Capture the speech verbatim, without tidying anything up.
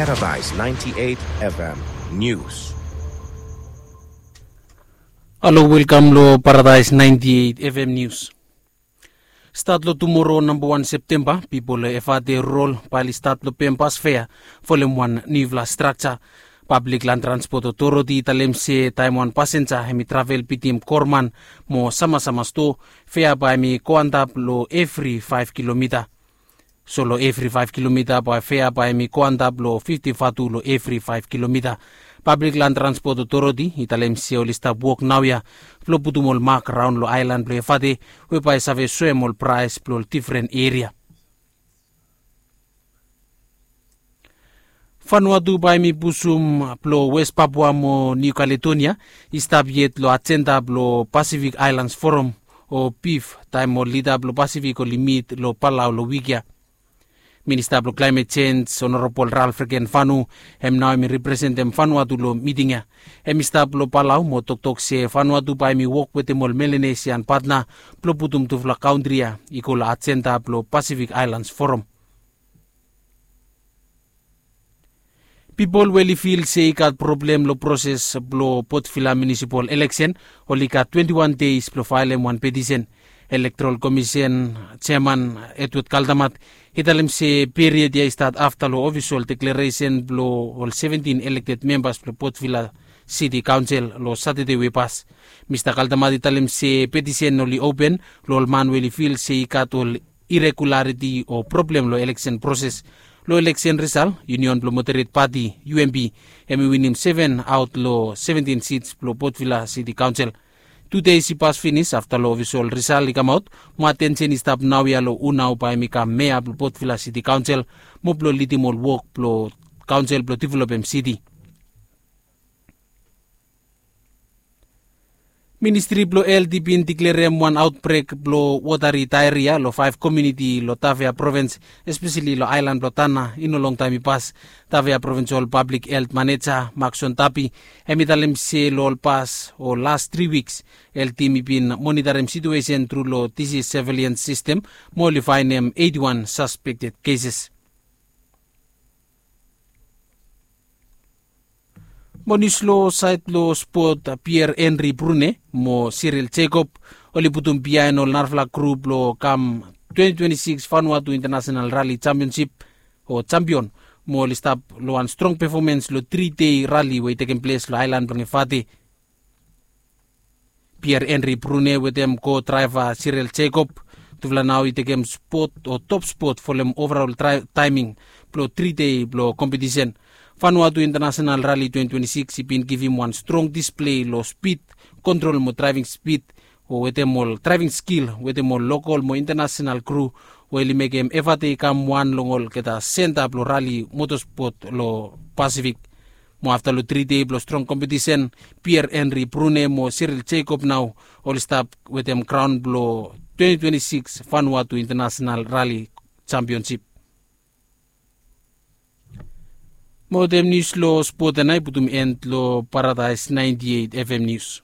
Paradise ninety-eight F M News. Halo, welkam lo Paradise ninety-eight F M News. Stat lo tumoro namba wan Septemba, pipol lo Efate Rurol bae oli stat lo pem bas fea folem wan niufala strakja. Pablik Lan Transpot Otoriti i talem se taem wan pasenja hemi travel bitim Korman mo Samasama Stoa, fea bae hemi go antap lo evri faef kilomita. So lo evri faef kilomita bae fea bae hemi go antap lo fifti vatu lo evri faef kilomita. Pablik Lan Transpot Otoriti i talem se oli stap wok naoia blo putum ol mak raon lo aelan blo Efate, we bae save soem ol praes blo ol difren eria. Vanuatu bae hemi pusum blo Wes Papua mo Niu Kaledonia i stap yet lo ajenda blo Pasifik Aelans Foram o pif, taem ol lida blo Pasifik oli mit lo Palau lo wik ya. Minista blo Klaemet Jenj, Onorabol Ralph Rekenvanu, hem nao hemi representem Vanuatu lo miting ya. Hemi stap lo Palau mo toktok se Vanuatu bae hemi wok wetem ol Melanesian patna blo putum tufala kantri ya i go lo ajenda blo Pasifik Aelans Foram. Pipol we oli fil se i gat problem lo proses blo Port Vila Munisipal Eleksen, oli gat twenti wan deis blo faelem wan petisen. Elektorol Komisen jeaman Edward Kaldamat i talem se period ya i stat afta lo ofisol deklaresen blo ol seventin elekted membas blo Port Vila Siti Kaonsel lo Satade we i pas. Mista Kaldamat i talem se petisen oli open lo ol man we oli fil se i gat ol iregulariti o problem lo eleksen proses. Lo eleksen risal, Union blo Moderet Pati, U M P, hemi winim seven aot lo seventin sits blo Port Vila Siti Kaonsel. Tu deis i pas finis afta lo ofisol risal i kamaot, mo atensen i stap naoia lo hu nao bae hemi kam mea blo Port Vila Siti Kaonsel mo blo lidim ol wok blo kaonsel blo developem siti. Ministri blo Helt i bin diklerem wan aotbrek blo wotari daeria lo faef komuniti lo Tafea provins, espeseli lo aelan blo Tanna, i no longtaem i pas. Tafea Provinsol Pablik Helt Maneja Makson Tapi hemi talem se lo ol pas o las tri wiks, Helt tim i bin monitarem situesen tru lo disis sevilen sistem mo oli faenem eiti wan saspekted keses. Mo nius lo saed blo spot, Pierre Henry Brune mo Cyril Jacob oli putum biaen ol narafala grup blo kam twenti twenti sikis Vanuatu International Rally Championship o jampion, mo oli stap lo wan strong pefomens lo tri dei rali we i tekem ples lo aelan blong Efate. Pierre Henry Brune wetem ko draeva Cyril Jacob, tufala nao i tekem spot o top spot folem overol taeming blo tri dei blo kompetisen. Vanuatu International Rally twenti twenti sikis i bin givim wan strong displei lo spid kontrol mo draeving spid, o wetem ol draeving skil wetem ol lokol mo internasenal kru, we oli mekem Efate i kam wan long olgeta senta blo rali motospot lo Pasifik. Mo afta lo tri dei blo strong kompetisen, Pierre Henry Brune mo Cyril Jacob nao oli stap wetem kraon blo twenti twenti sikis Vanuatu International Rally Championship. Mo wetem nius lo spot ya nao i putum en lo Paradise naenti eit F M Nius.